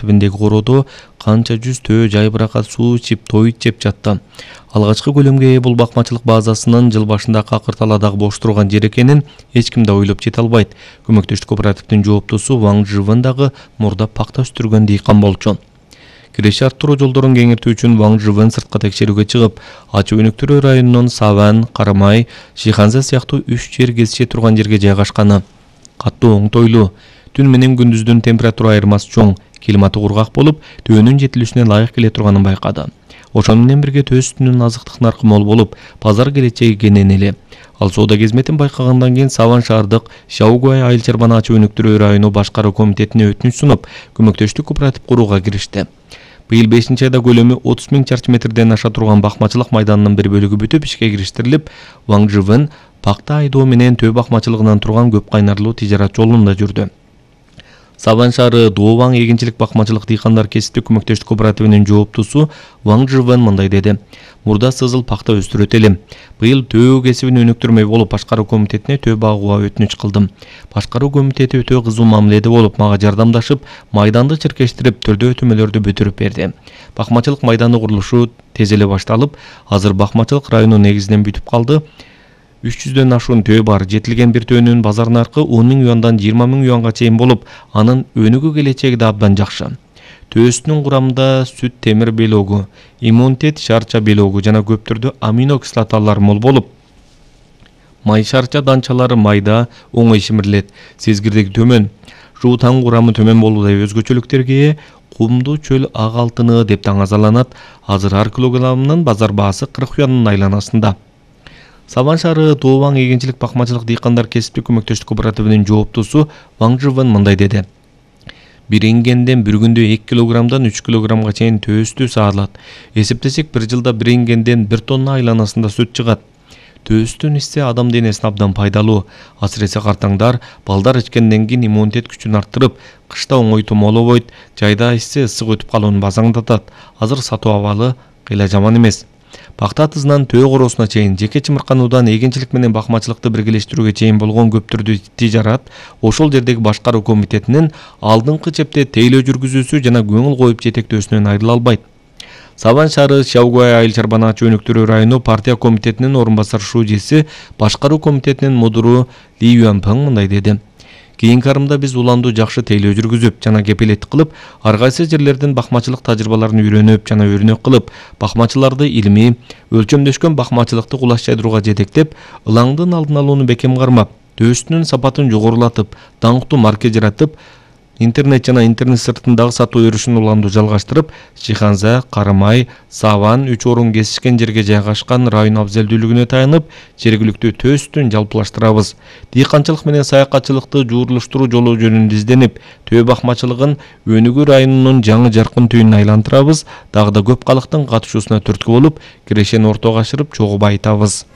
Түбүндөгү короодо канча жүз төө жайбыракат суу ичип тоют жеп жатты. Алгачкы көлөмгө ээ бул бакмачылык базасынын жыл башында Какырталадагы бош турган жер экенин эч ким да ойлоп жете албайт. Көмөктөштүк кооперативдин жооптусу Ваң Жывын дагы мурда пакта өстүргөн дыйкан болчу. Киреше арттыруу жолдорун кеңейтүү үчүн Ваң Жывын сыртка текшерүүгө чыгып, Ачы Өнүктүрүү районунун Саван, Карамай, Шиханза сыяктуу 3 жер кесише турган жерге жайгашканы. Каттуу оңтойлуу, түн менен күндүздүн температура айырмасы чоң, климаты кургак болуп, төөнүн жетилүүсүнө ылайык келе турганын байкады. Ошону менен бирге төө сүтүнүн азыктык наркы мол болуп, базар келечеги кенен эле. Ал соода кезметин байкагандан кийин Саван шаардык Шаугуай айыл чарбаны Ачы Өнүктүрүү району башкаруу комитетине өтүнүч сунуп, көмөктөштүк кооператив курууга киришти. Быйыл 5-айда көлөмү 30 000 чарчы метрден аша турган бакмачылык майданынын бир бөлүгү бүтүп ишке кириштирилип, Ваң Жывын пакта айдоо менен төө бакмачылыгынан турган көп кайнарлуу тижарат жолунда жүрдү. Саван шаары Дооваң эгинчилик бакмачылык дыйкандар кесиптик көмөктөштүк кооперативинин жооптусу Ваң Жывын мындай деди. Мурда сызыл пакта өстүрөт элем. Быйыл төө кесибин өнүктүрмөй болуп башкаруу комитетине төө багууга өтүнүч кылдым. Башкаруу комитети өтө кызуу мамиледе болуп, мага жардамдашып, майданды чиркештирип, түрдөө өтөмөлөрдү бүтүрүп берди. Бакмачылык майданы курулушу тез эле башталып, азыр бакмачылык району негизинен бүтүп калды. 300дөн ашуун төө бар. Жетилген бир төөнүн базар наркы 10 000 юандан 20 000 юанга чейин болуп, анын өнүгүү келечеги да абдан жакшы. Төөсүнүн курамында сүт темир белогу, иммунитет шарча белогу жана көп түрдүү амино кислоталар мол болуп, май шарча данчалары майда, оңой шимирилет, сезгирлиги төмөн, жуутаң курамы төмөн болуудай өзгөчөлүктөргө ээ, кумдуу чөл ак алтыны деп таңазаланат. Азыр ар килограммынын базар баасы 40 юандын айланасында. Саван шаары Дооваң эгинчилик бакмачылык дыйкандар кесиптик көмөктөштүк кооперативинин жооптусу Ваң Жывын мындай деди. Бир ингенден бир күндө 2 килограммдан 3 килограммга чейин төө сүтү саалат. Эсептесек, бир жылда бир ингенден 1 тонна айланасында сүт чыгат. Төө сүтүн ичсе адам денесине абдан пайдалуу. Асыресе картаңдар балдар ичкенден кийин иммунитет күчүн арттырып, кышта оңой томолобойт, жайда ичсе ысык өтүп калууну базаңдатат. Азыр сатуу абалы кыйла жаман эмес. Пакта атызынан төө короосуна чейин жеке чымыркануудан эгинчилик менен бакмачылыкты биргелештирүүгө чейин болгон көп түрдүү тижарат ошол жердеги башкаруу комитетинин алдыңкы чепте тейлөө жүргүзүүсү жана көңүл коюп жетектөөсүнөн айрыла албайт. Саван шаары Шаугуай айыл чарбаны Ачы Өнүктүрүү району партия комитетинин орун басар шужеси, башкаруу комитетинин мудуру Ли Юанпeng мындай деди. Кийинки арымда биз уланду жакшы тейлөө жүргүзүп жана кепилеттик кылып, ар кайсы жерлердин бакмачылык тажрыйбаларын үйрөнүп жана өрнөк кылып, бакмачыларды илимий, өлчөмдөшкөн бакмачылыкты кулаш жайдырууга жетектеп, ылаңдын алдын алууну бекем кармап, төө сүтүнүн сапатын жогорулатып, даңктуу марке жаратып, интернет жана интернет сыртындагы сатуу өрүшүн уланду жалгаштырып, Шиханза, Карамай, Саван 3 орун кесишкен жерге жайгашкан район абзелдүүлүгүнө таянып, жергиликтүү төө сүтүн жалпылаштырабыз. Дыйканчылык менен саякатчылыкты жуурулуштуруу жолу жөнүндө изденип, төө бакмачылыгын Өнүгүү районунун жаңы жаркын түйүнүн айлантырабыз. Дагы да көп калктын катышуусуна түрткү болуп, кирешени ортого ашырып, чогуу байытабыз.